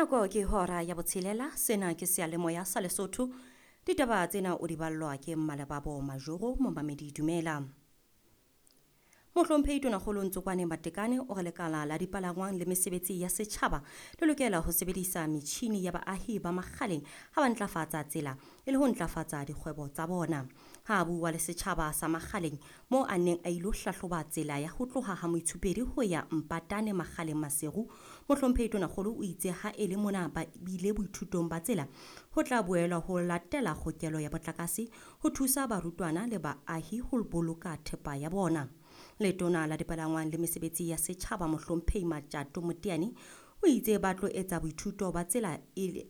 Nako ke hora ya botshelela, sena ke seyalemoya sa Lesotho. Ditaba tsena o di ballwa ke Mmalebabo Majoro, momamedi dumela. Mohlomphehi Tonakgolo Ntsokwane Matekane o re lekala la dipalangwang le mesebetsi ya setjhaba le lokela ho sebedisa metjhini ya baahi ba Makgaleng ha ba ntlafatsa tsela e le ho ntlafatsa dikgwebo tsa bona. Ha a bua le setjhaba sa Makgaleng moo a neng a ilo hlahloba tsela ya ho tloha ha Moithupedi ho ya Mpatane Makgaleng Maseru, Mohlomphehi Tonakgolo o itse ha e le mona ba bile boithutong ba tsela ho tla boelwa ho latela kgokelo ya motlakase ho thusa barutwana le baahi ho boloka thepa ya bona. Letona la dipalangwang le mesebetsi ya setjhaba Mohlomphehi Matjato Moteane o itse ba tlo etsa boithuto ba tsela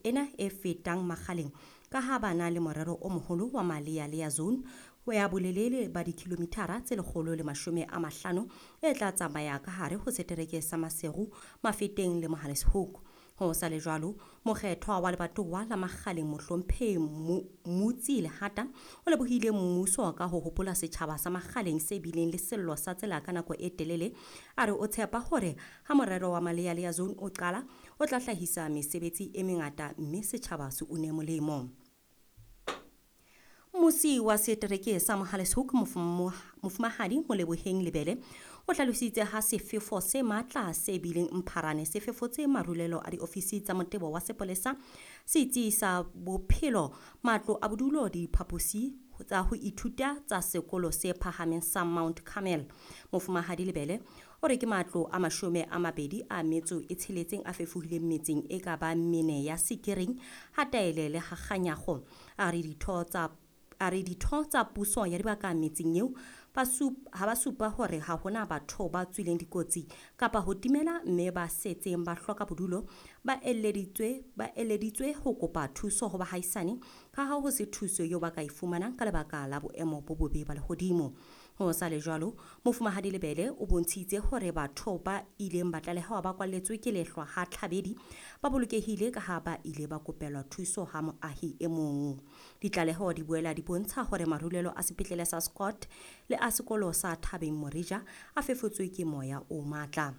ena e fetang Makgaleng ka ha ba na le morero o moholo wa Malea-Lea Zone ya bolelele ba dikilomithara tse 150 e tla tsamaya ka hare ho setereke sa Maseru, Mafeteng le Mohale's-Hoek. Ho sa le jwalo, mokgethwa wa lebatowa la Makgaleng Mohlomphehi Mutsi Lehata o lebohile mmuso ka ho hopola setjhaba sa Makgaleng se bileng le sello sa tsela ka nako e telele. A re o tshepa hore ha morero wa Malea-Lea Zone o qala, o tla hlahisa mesebetsi e mengata mme setjhaba se une molemo. Mmusi wa setereke sa Mohale's-Hoek Mofumahadi Moleboheng Lebele o hlalositse ha sefefo se matla se bileng Mpharane se fefotse marulelo a diofisi tsa motebo wa sepolesa, setsi sa bophelo, matlo a bodulo, diphaposi tsa ho ithuta tsa sekolo se phahameng sa Mount Carmel. Mofumahadi Lebele o re ke matlo a 26 a fefohileng metseng e ka bang mene ya Sekiring, ha Taele le ha Kganyago. A re ditho tsa puso ya dibaka metseng eo ha ba supa hore ha hona batho ba tswileng dikotsi kapa ho timela mme ba setseng ba hloka bodulo ba eleditswe ho kopa thuso ho bahaisane ka ha ho se thuso eo ba ka e fumanang ka lebaka la boemo bo bobe ba lehodimo. Ho sa le jwalo, Mofumahadi Lebele o bontshitse hore batho ba ileng ba tlalehewa ba kwalletswe ke lehlwa ha Tlhabedi ba bolokehile ka ha ba ile ba kopelwa thuso ha moahi e mong. Ditlaleho di boela di bontsha hore marulelo a sepetlele sa Scott le a sekolo sa Thabeng Morija a fefotswe ke moya o matla.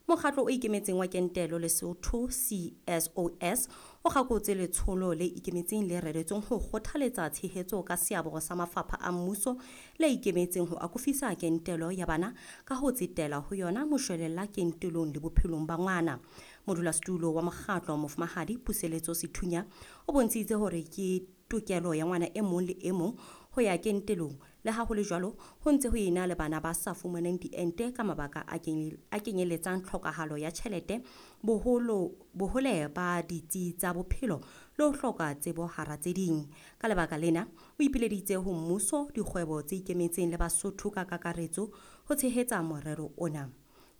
Mokgatlo o ikemetseng wa kentelo Lesotho CSOS o kgakotse letsholo le ikemetseng le reretsweng ho kgothaletsa tshehetso ka seabo sa mafapha a mmuso le ikemetseng ho akofisa kentelo ya bana ka ho tsetela ho yona moshwelella kentelong le bophelong ba ngwana. Modulasetulo wa mokgatlo Mofumahadi Puseletso Sethunya o bontshitse hore ke tokelo ya ngwana e mong le e mong ho ya kentelong. Le ha ho le jwalo, ho ntse ho ena le bana ba sa fumaneng diente ka mabaka a kenyeletsang tlhokahalo ya tjhelete, bohole ba ditsi tsa bophelo le ho hloka tsebo hara tse ding. Ka lebaka lena, o ipileditse ho mmuso, dikgwebo tse ikemetseng le Basotho ka kakaretso ho tshehetsa morero ona.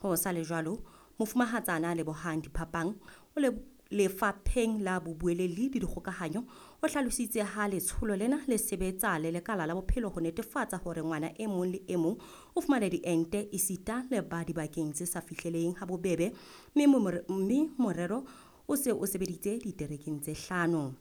Ho sa le jwalo, Mofumahatsana Lebohang Diphapang o lefapheng la bobueleli le dikgokahanyo o hlalositse ha letsholo lena le sebetsa le lekala la bophelo ho netefatsa hore ngwana e mong le e mong o fumana diente esita le ba dibakeng tse sa fihleleng ha bobebe, mme morero o se o sebeditse diterekeng tse 5.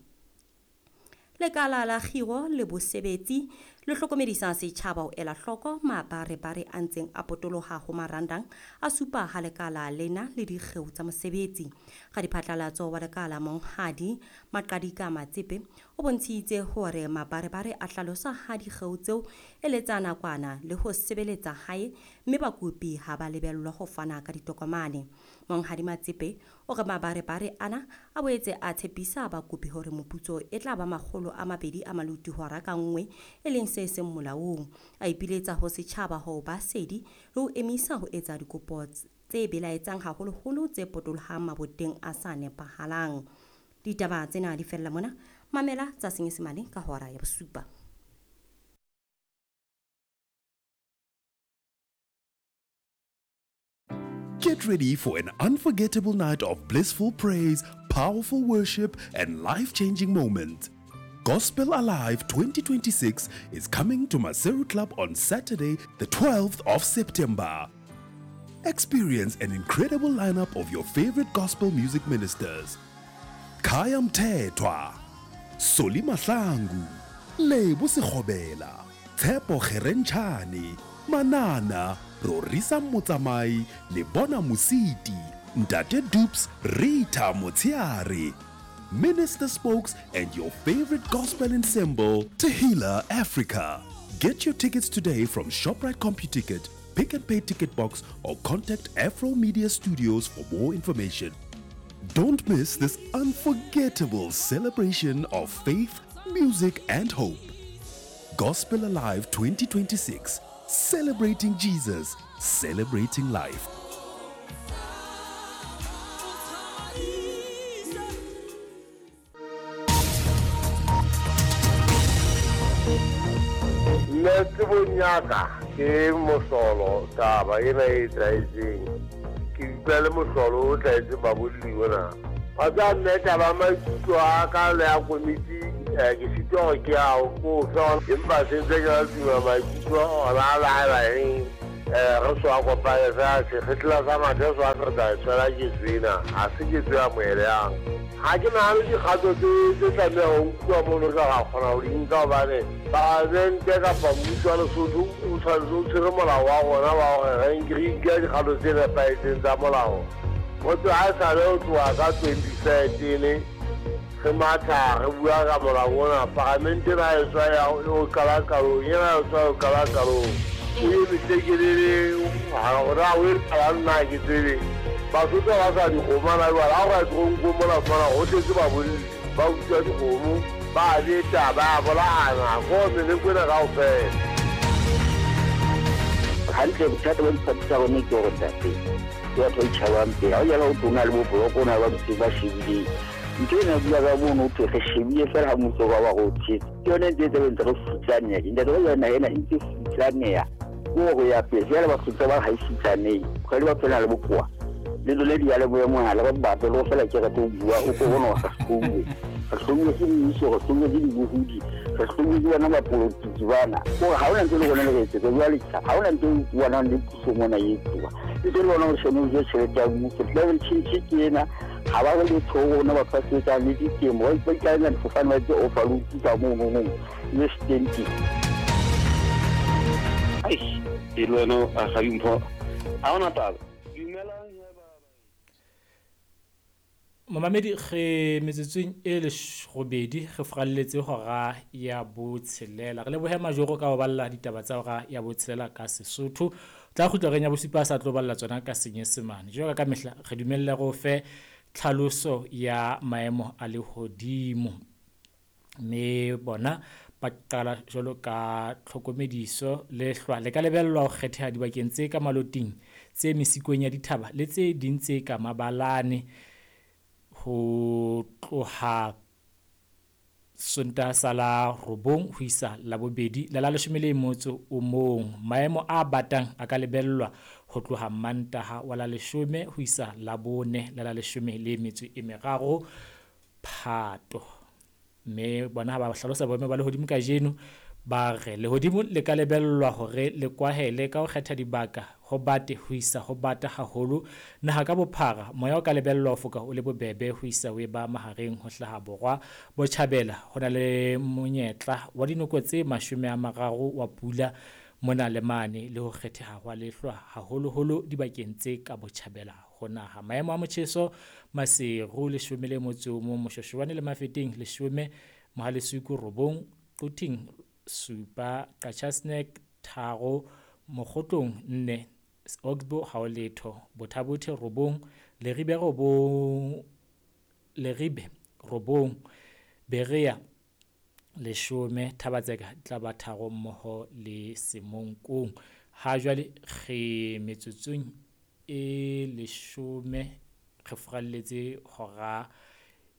Lekala la kgiro le bosebetsi le hlokomedisa setjhaba ho ela hloko mabarebare a ntseng a potoloha ho marandang a supa ha lekala lena le dikgeo tsa mosebetsi. Radiphatlalatso wa lekala Monghadi Maqadika Matsepe o bontshitse hore mabarebare a hlalosa ha dikgeo tseo e le tsa nakwana le ho sebeletsa hae mme bakopi ha ba lebellwa ho fana ka ditokomane. Monghadi Matsepe o re mabarebare ana a boetse a tshepisa bakopi hore moputso e tla ba 200 a maluti hora ka nngwe, e leng se seng molaong. A ipiletsa ho setjhaba ho ba sedi le ho emisa ho etsa dikopo tse belaetsang haholoholo tse potolohang maboteng a sa nepahalang. Ditaba tsena di fella mona. Mamela tsa Senyesemane ka hora ya 7. Get ready for an unforgettable night of blissful praise, powerful worship, and life-changing moments. Gospel Alive 2026 is coming to Maseru Club on Saturday, the 12th of September. Experience an incredible lineup of your favorite gospel music ministers. Khaya Mthethwa, Solly Mahlangu, Lebo Sekgobela, Tshepo Kgerentshane, Manana, Rorisang Motsamai, Lebona Mositi, Ntate Dupes Rita Motiari, Minister Spokes, and your favorite gospel ensemble, Tehila Africa. Get your tickets today from ShopRite CompuTicket, Pick and Pay Ticket Box, or contact Afro Media Studios for more information. Don't miss this unforgettable celebration of faith, music, and hope. Gospel Alive 2026, celebrating Jesus, celebrating life. Nna tsebong ya ka ke mohlolo taba ena e etsahetseng. Ke utlwa le mohlolo o tlwaetseng babolli ona. Wa tseba mme taba ya maikutlo a ka le ya komiti ke sitwa hore ke a ko fe empa se ntse ke la tuma maikutlo ona a laela eng re so a kopane fela sekgetla sa mathe so a re tla e tshwela ketso ena ha se ketso e amohelehang. Ha ke nahane dikgato tse tse tlameha ho nkuwa mono tla ra kgona ho di nka hobane palamente kapa mmuso wa Lesotho o tshwanetse o tshwere molao wa rona wa hore re re nke dikgato tse nepahetseng tsa molao. Ho tloha ha esale ho tloha ka 2013 re matha re bua ka molao ona, palamente ena e tswa ya o qala qalong, ena e tswa o qala qalong. O eme tlekelele hore na o etsalang nna ha ke tsebe. Basotho ha ba sa dikgomo hana jwale, ha o ka ya toronkong mona o fumana ho tletse babolli ba utswa dikgomo, ba a beta, ba a bolayana, ko meleko ena kaofela. Hantle bothata ba diphathi tsa rona ke hore ntate ke batho ba itjhabang pele. Ha o jala ho tona le bo boloko ona ba ntse ba shebileng. Ntho ena bua ka mono ho thwe re shebile fela ha mmuso ba ba re o tshetse. Ke yone ntse e tse ntse re futsaneha. Ntate ba jana ena e ntse futsaneha. Ke hore ya pele jwale batho ntse ba ha e futsanehe. Kgwedi ba phela le bokowa. Le lona diyalemoya mohala ba batle le go fela ke rate ho bua o ko bona re hlouwe. Re hlouwe ke mmuso, re hlouwe ke dibohodi, re hlouwe ke bona bapolotiki bana. Kore ha hona ntho le rona le re etsetsa jwale ha hona ntho e utlwanang le puso mona e etsuwa. Ntse le bona hore shone o ja tjhelete ya mmuso. Climate change ke ena ha ba re letho ho rona batho ba sebetsang le ditemo ba ikaela difofane ba etse overload ka mono mong le stenting. Eish, e le wena Rakgadi Mpho, ha hona taba. Dumelang he ba Momamedi re metsotsong e robedi re furalletse hora ya botshelela. Re lebohe Majoro ka ho balla ditaba tsa hora ya botshelela ka Sesotho. Tla kgutla reng ya bosupa a sa tlo balla tsona ka Senyesemane. Jwalo ka mehla re dumelle re o fe tlhaloso ya maemo a lehodimo. Mme bona ba qala jwalo ka tlhokomediso lehlwa le ka lebellwa ho kgetheha dibakeng tse ka maloting, tse mesikong ya dithaba le tse ding tse ka mabalane ho tloha Sontaha sa la robong ho isa Labobedi la la leshome le motso o mong. Maemo a batang a ka lebellwa ho tloha Mantaha wa la leshome ho isa Labone la la leshome le metso e meraro Phato. Mme bona ha ba hlalosa boemo ba lehodimo kajeno ba re lehodimo le ka lebellwa hore le kwahele ka ho kgetha dibaka ho bate ho isa ho bata haholo naha ka bophara. Moya o ka lebellwa ho foka o le bobebe ho isa o eba mahareng ho hlaha borwa botjhabela. Ho na le monyetla wa dinoko tse 30 wa pula mona le mane le ho kgetheha hwa lehlwa haholoholo dibakeng tse ka botjhabela ho naha. Maemo a motjheso Maseru 11, Moshweshwane le Mafeteng 10, Mohalesuku 9, Quthing 7, Qacha's Nek 3, Mokgotlong 4, Oxbow ha ho letho, Botha-Bothe 9, Leribe 9, Leribe 9, Berea 10, Thabatseka tla ba 3 mmoho le Semonkong. Ha jwale re metsotsong e 10 re furalletse hora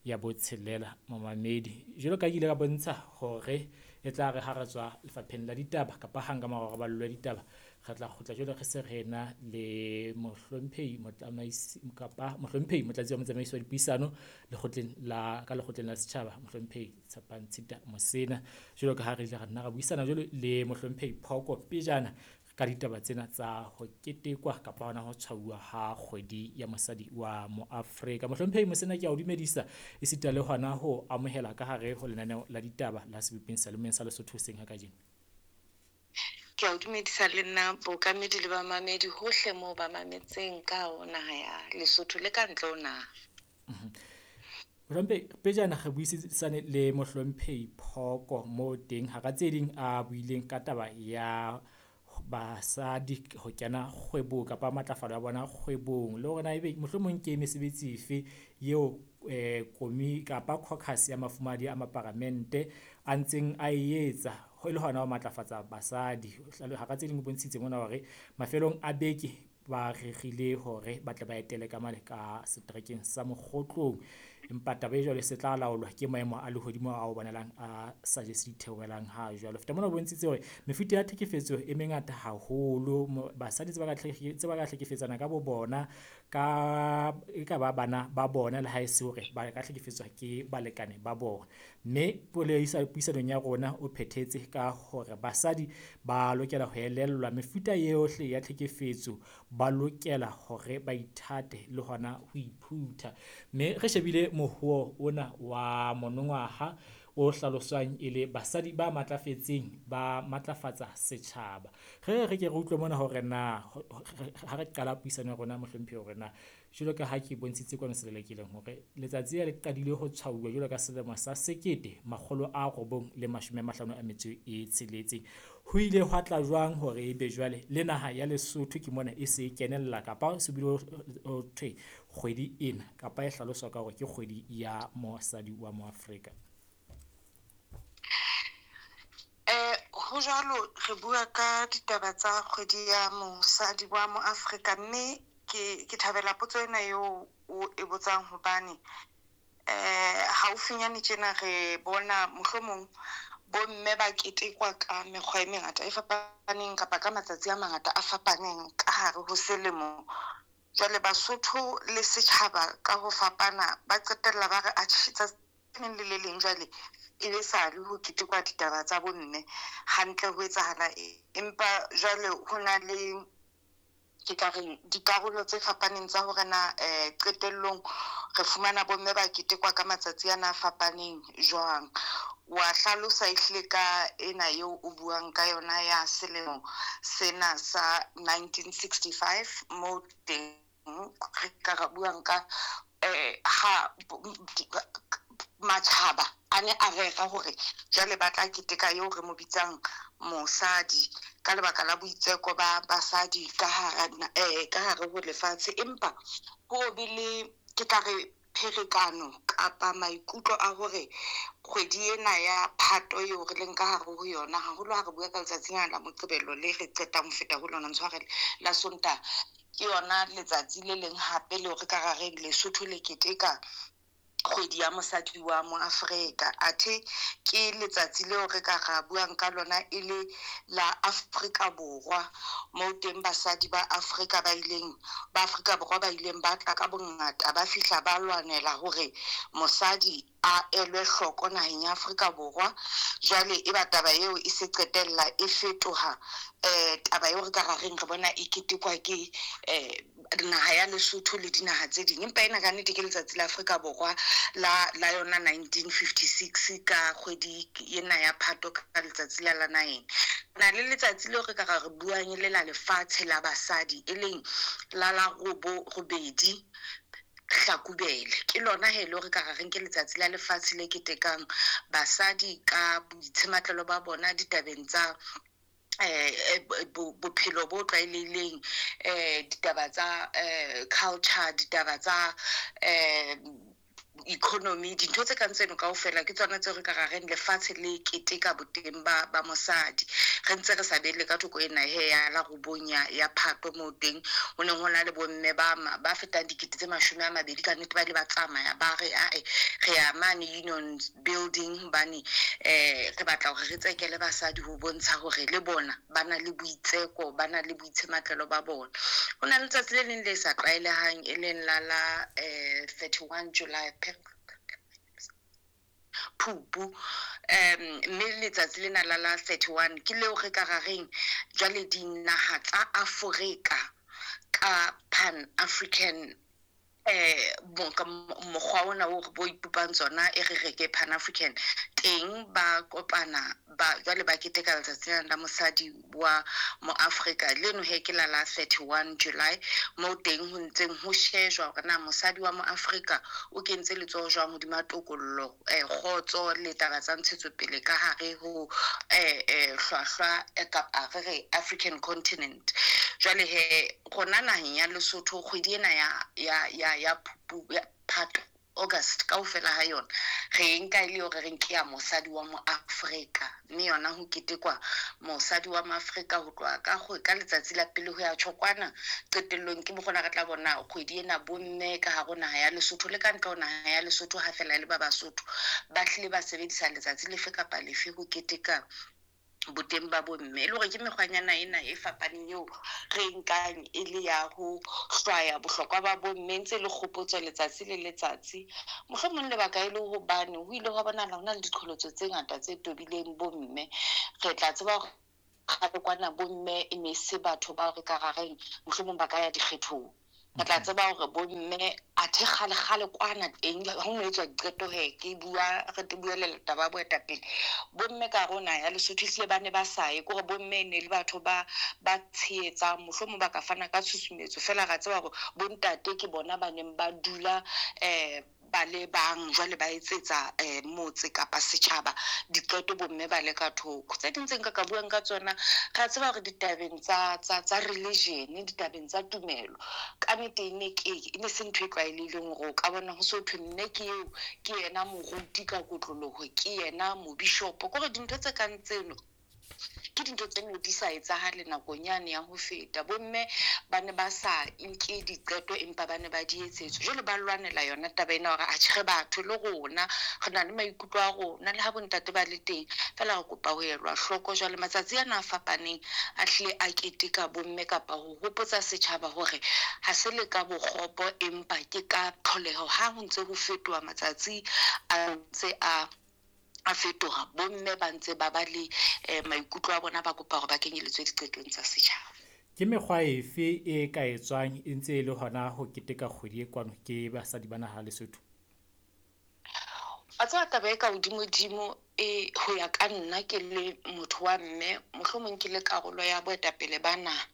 ya botshelela momamedi. Jwalo ka ke ile ka bontsha hore e tla re ha re tswa lefapheng la ditaba kapa hang ka mora hore ba ballwe ditaba re tla kgutla jwale re se re na le mohlomphehi motsamaisi kapa mohlomphehi motlatsi wa motsamaisi wa dipuisano lekgotleng la ka lekgotleng la setjhaba mohlomphehi Tshepang Tshita Mosena. Jwalo ka ha re ile ra nna ra buisana jwalo le mohlomphehi Phoko pejana ka ditaba tsena tsa ho ketekwa kapa hona ho tshwauwa ha kgwedi ya mosadi wa Moafrika. Mohlomphehi Mosena, ke a o dumedisa esita le hona ho amohela ka hare ho lenaneo la ditaba la Sebopeng Seyalemoyeng sa Lesotho hoseng ha kajeno. Ke a o dumedisa le nna bookamedi le bamamedi hohle moo ba mametseng ka ho naha ya Lesotho le ka ntle ho naha. Mohlomphehi, pejana re buisisane le Mohlomphehi Phoko moo teng hara tse ding a buileng ka taba ya basadi ho kena kgwebong kapa matlafalo ya bona kgwebong, le hore na ebe mohlomong ke mesebetsi efe eo komi kapa caucus ya mafumahadi a maparamente a ntseng a e etsa ho le hona ho matlafatsa basadi. Hara tse ding o bontshitse mona hore mafelong a beke ba rerile hore ba tle ba etele ka mane ka seterekeng sa Mokgotlong, empa taba e jwalo e se tla laolwa ke maemo a lehodimo ao bonahalang a sa jese ditheohelang ha jwalo. Feta mona o bontshitse hore mefuta ya tlhekefetso e mengata haholo, basadi tse ba ka hlekefetsana ka bo bona, ka e ka ba bana ba bona le ha e se hore ba ka hlekefetswa ke balekane ba bona. Mme puisanong ya rona o phethetse ka hore basadi ba lokela ho elellwa mefuta yohle ya tlhekefetso, ba lokela hore ba ithate le hona ho iphutha. Mme re shebile mohuo ona wa monongwaha o hlaloswang e le basadi ba matlafetseng ba matlafatsa setjhaba. Re re ke re utlwe mona hore na ha re qala puisano ya rona mohlomphehi hore na jwalo ka ha ke bontshitse kwano selelekileng hore letsatsi le qadile ho tshwauwa jwalo ka selemo sa 1956, ho ile hwa tla jwang hore ebe jwale le naha ya Lesotho ke mona e se e kenella kapa se bile ho thwe kgwedi ena kapa e hlaloswa ka hore ke kgwedi ya mosadi wa Moafrika? Ho jwalo, re bua ka ditaba tsa kgwedi ya mosadi wa Moafrika, mme ke thabela potso ena eo o e botsang hobane haufinyane tjena re bona mohlomong bomme ba ketekwa ka mekgwa e mengata e fapaneng kapa ka matsatsi a mangata a fapaneng ka hare ho selemo. Jwale Basotho le setjhaba ka ho fapana ba qetella ba re atjhe tsatsi le le leng jwale e be sale ho ketekwa ditaba tsa bomme hantle ho etsahala eng. Empa jwale ho na le ke ka reng dikarolo tse fapaneng tsa hore na qetellong re fumana bomme ba ketekwa ka matsatsi ana a fapaneng jwang. Wa hlalosa ehlile ka ena eo o buang ka yona ya selemo sena sa 1965 moo teng re ka ra buang ka ha matjhaba a ne a rera hore jwale ba tla keteka eo re mo bitsang mosadi ka lebaka la boitseko ba basadi ka hare ho lefatshe. Empa ho be le ke tla re pherekano kapa maikutlo a hore kgwedi ena ya Phato eo re leng ka hare ho yona, haholo ha re bua ka letsatsi lena la Moqebelo le re qetang ho feta ho lona, ntshwarele, la Sontaha, ke yona letsatsi le leng hape leo re ka ra reng Lesotho le keteka kgwedi ya mosadi wa Moafrika. Athe ke letsatsi leo re ka ra buang ka lona e le la Afrika Borwa, moo teng basadi ba Afrika ba ileng ba Afrika Borwa ba ileng ba tla ka bongata ba fihla ba lwanela hore mosadi a elwe hloko naheng ya Afrika Borwa. Jwale e ba taba eo e se qetella e fetoha taba eo re ka ra reng re bona e ketekwa ke naha ya Lesotho le dinaha tse ding. Empa ena ka nnete ke letsatsi la Afrika Borwa la yona 1956 ka kgwedi ena ya Phato ka letsatsi la 9. Na le letsatsi leo re ka ra re buang e le la lefatshe la basadi, e leng la 8 Hlakubele. Ke lona he le re ka ra reng ke letsatsi la lefatshe le ketekang basadi ka boitshematlo ba bona ditabeng tsa bophelo bo tlwaelehileng, ditaba tsa culture, ditaba tsa economy, dintho tse kang tseno kaofela ke tsona tseo re ka ra reng lefatshe le keteka boteng ba mosadi. Re ntse re sa bele ka thoko ena he ya la 9 ya Phato moo teng ho neng ho na le bomme ba fetang 20,000 ka nnete ba ile ba tsamaya ba re ae re ya mane Union Building hobane re batla hore re tsekele basadi ho bontsha hore le bona ba na le boitseko, ba na le boitshematlelo ba bona. Ho na le letsatsi le leng le sa tlwaelehang e leng la 31 July Phupu, mme letsatsi lena la 31 ke leo re ka ra reng jwale dinaha tsa Afrika ka Pan African Mokgwa ona o re bo ipopang tsona e re re ke Pan African teng, ba kopana ba jwale ba keteka letsatsi lena la mosadi wa mo Afrika leno he ke la 31 July, moo teng ho ntseng ho shejwa hore na mosadi wa mo Afrika o kentse letsoho jwang hodima tokollo, kgotso le taba tsa ntshetsopele ka hare ho hlwahlwa kapa re re African continent. Jwale he rona naheng ya Lesotho kgwedi ena ya Phupu, ya Phato, August kaofela ha yona re nka e le hore re nke ya mosadi wa mo Afrika, mme yona ho ketekwa mosadi wa mo Afrika ho tloha ka letsatsi la pele ho ya tjhokwana. Qetellong ke mokgona re tla bona kgwedi ena bomme ka hare ho naha ya Lesotho le ka ntle ho naha ya Lesotho, ha fela le ba Basotho ba hlile ba sebedisa letsatsi lefe kapa lefe ho keteka boteng ba bomme. E le hore ke mekgwanyana ena e fapaneng eo re nkang e le ya ho hlwaya bohlokwa ba bomme, ntse le kgopotso letsatsi le letsatsi. Mohlomong lebaka e le hobane ho ile hwa bonahala ho na le diqholotso tse ngata tse tobileng bomme. Re tla tseba hore kgale kwana bomme e ne se batho bao re ka rareng mohlomong ba ka ya dikgethong. Re tla tseba hore bomme athe kgale-kgale kwana teng ha ho no etswa diqeto he, ke bua re te buelela taba ya boetapele. Bomme ka hare ho naha ya Lesotho ehlile ba ne ba sa ye, ke hore bomme e ne le batho ba tshehetsang, mohlomong ba ka fana ka tshusumetso fela. Ra tseba hore bontate ke bona ba neng ba dula ba le bang jwale ba etsetsa motse kapa setjhaba diqeto, bomme ba le ka thoko. Tse ding tse nka ka buang ka tsona, ra tseba hore ditabeng tsa religion, ditabeng tsa tumelo, ka nnete e ne ke e ne se ntho e tlwaelehileng hore o ka bona ho so thwe mme ke eo, ke yena moruti ka kotloloho, ke yena mobishopo. Ke hore dintho tse kang tseno ke dintho tse ne di sa etsahale nakong yane ya ho feta. Bomme ba ne ba sa nke diqeto empa ba ne ba di etsetswa. Jwale ba lwanela yona taba ena hore atjhe re batho le rona, re na le maikutlo a rona le ha bontate ba le teng, fela re kopa ho elwa hloko. Jwale matsatsi ana a fapaneng a hlile a keteka bomme kapa ho hopotsa setjhaba hore ha se le ka bokgopo empa ke ka tlholeho. Ha ho ntse ho fetoha matsatsi a ntse a fetoha, bomme ba ntse ba ba le maikutlo a bona, ba kopa hore ba kenyeletswe diqetong tsa setjhaba. Ke mekgwa efe e ka etswang e ntse e le hona ho keteka kgwedi e kwano ke basadi ba naha Lesotho? Wa tseba taba e ka hodimodimo e ho ya ka nna ke le motho wa mme, mohlomong ke le karolo ya boetapele ba naha,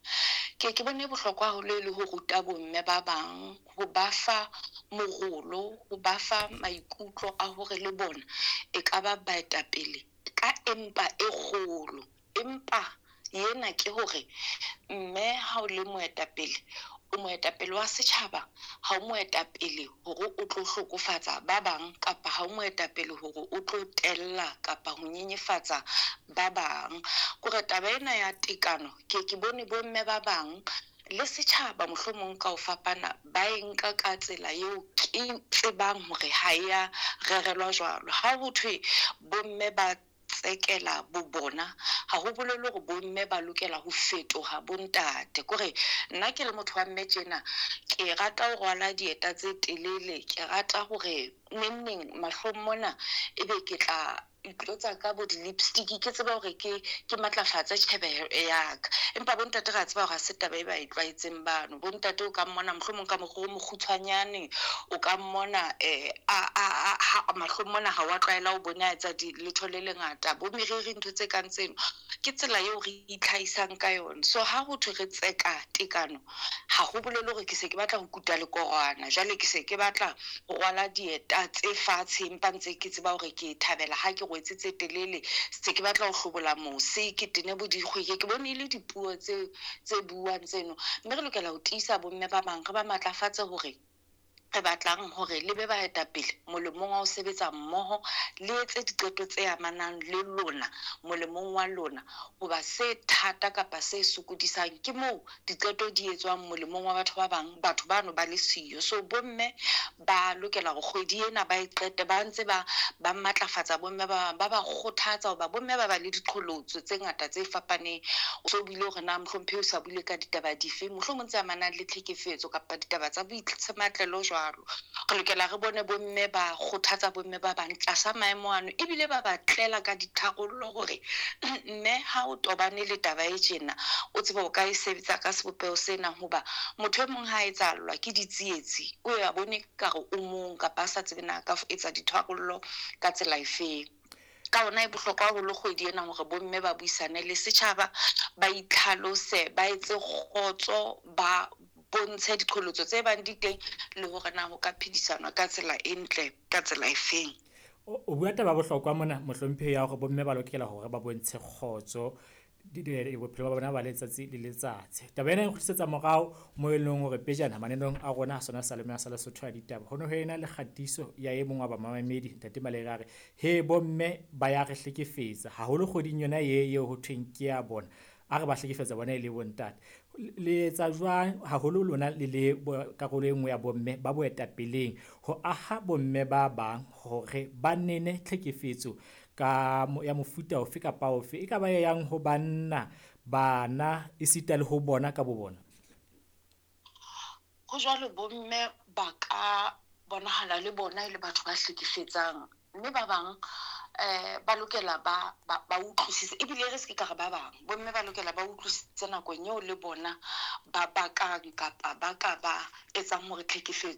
ke bone bohlokwa haholo e le ho ruta bomme ba bang, ho ba fa morolo, ho ba fa maikutlo a hore le bona e ka ba baetapele ka empa e kgolo. Empa ena ke hore mme ha o le moetapele, o moetapele wa setjhaba, ha o moetapele hore o tlo hlokofatsa ba bang, kapa ha o moetapele hore o tlo tella kapa ho nyenyefatsa ba bang. Kore taba ena ya tekano ke bone bomme ba bang le setjhaba mohlomong ka ho fapana ba e nka ka tsela eo ke tsebang hore ha e ya rerelwa jwalo. Ha ho thwe bomme ba tsekela bo bona, ha ho bolele hore bomme ba lokela ho fetoha bontate. Kore nna ke le motho wa mme tjena, ke rata ho rwala dieta tse telele, ke rata hore nengneng mahlong mona ebe ke tla itlotsa ka bo di-lipstick, ke tseba hore ke matlafatse tjhebeho ya ka. Empa bontate re a tseba hore ha se taba e ba e tlwaetseng bano. Bontate o ka mmona mohlomong ka mokgwa o mokgutshwanyane, o ka mmona mahlong mona ha wa tlwaela ho bona a etsa letho le lengata, bo meriri, ntho tse kang tseno. Ke tsela eo re itlhahisang ka yona. So ha ho thwe re tseka tekano, ha ho bolele hore ke se ke batla ho kuta lekorwana, jwale ke se ke batla ho rwala dieta tse fatshe empa ntse ke tseba hore ke thabela ha ke rwetse tse telele, se ke batla ho hlobola mose, ke tene bo dikgwe. Ke bone e le dipuo tse buang tseno. Mme re lokela ho tiisa bomme ba bang, re ba matlafatse hore re batlang hore le be baetapele molemong wa ho sebetsa mmoho, le etse diqeto tse amanang le lona molemong wa lona. Hoba se thata kapa se sokodisang ke moo diqeto di etswang molemong wa batho ba bang, batho bano ba le siyo. So bomme ba lokela hore kgwedi ena ba e qete ba ntse ba matlafatsa bomme ba bang, ba ba kgothatsa, hoba bomme ba ba le diqholotso tse ngata tse fapaneng. So buile hore na mohlomphehi o sa buile ka ditaba dife, mohlomong tse amanang le tlhekefetso kapa ditaba tsa boitsematlelo jwalo. Re lokela re bone bomme ba kgothatsa bomme ba bang tlasa maemo ano, ebile ba ba tlela ka ditharollo hore mme ha o tobane le taba e tjena, o tsebe o ka e sebetsa ka sebopeho sena. Hoba motho e mong ha a etsahallwa ke ditsietsi, o ya bone kare o mong kapa a sa tsebe na ka etsa ditharollo ka tsela efeng. Ka hona e bohlokwa haholo kgwedi ena hore bomme ba buisane le setjhaba, ba itlhalose, ba etse kgotso, ba bontshe diqholotso tse bang di teng le hore na ho ka phedisanwa ka tsela e ntle, ka tsela efeng. O bua taba bohlokwa mona, mohlomphehi, ya hore bomme ba lokela hore ba bontshe kgotso bophelo ba bona ba letsatsi le letsatsi. Taba ena e nkgutlisetsa morao mo e leng hore pejana mananeong a rona a sona Salome sa Lesotho ya ditaba, ho ne ho ena le kgatiso ya e mong wa bamamedi, Ntate Malere, a re he bomme ba ya re hlekefetsa haholo kgweding yona ye eo ho thweng ke ya bona, a re ba hlekefetsa bona e le bontate. Le etsa jwang haholo lona le le karolo e nngwe ya bomme ba boetapeleng ho aha bomme ba bang hore ba nene tlhekefetso ka ya mofuta ofe kapa ofe, e ka ba e yang ho banna, bana, esita le ho bona ka bo bona? Ho jwalo, bomme ba ka bonahala le bona e le batho ba hlekefetsang, mme ba bang ba lokela ba utlwisise, ebile re se ke ka re ba bang bomme ba lokela ba utlwisise nakong eo le bona ba bakang kapa ba ka ba etsang hore tlhekefetso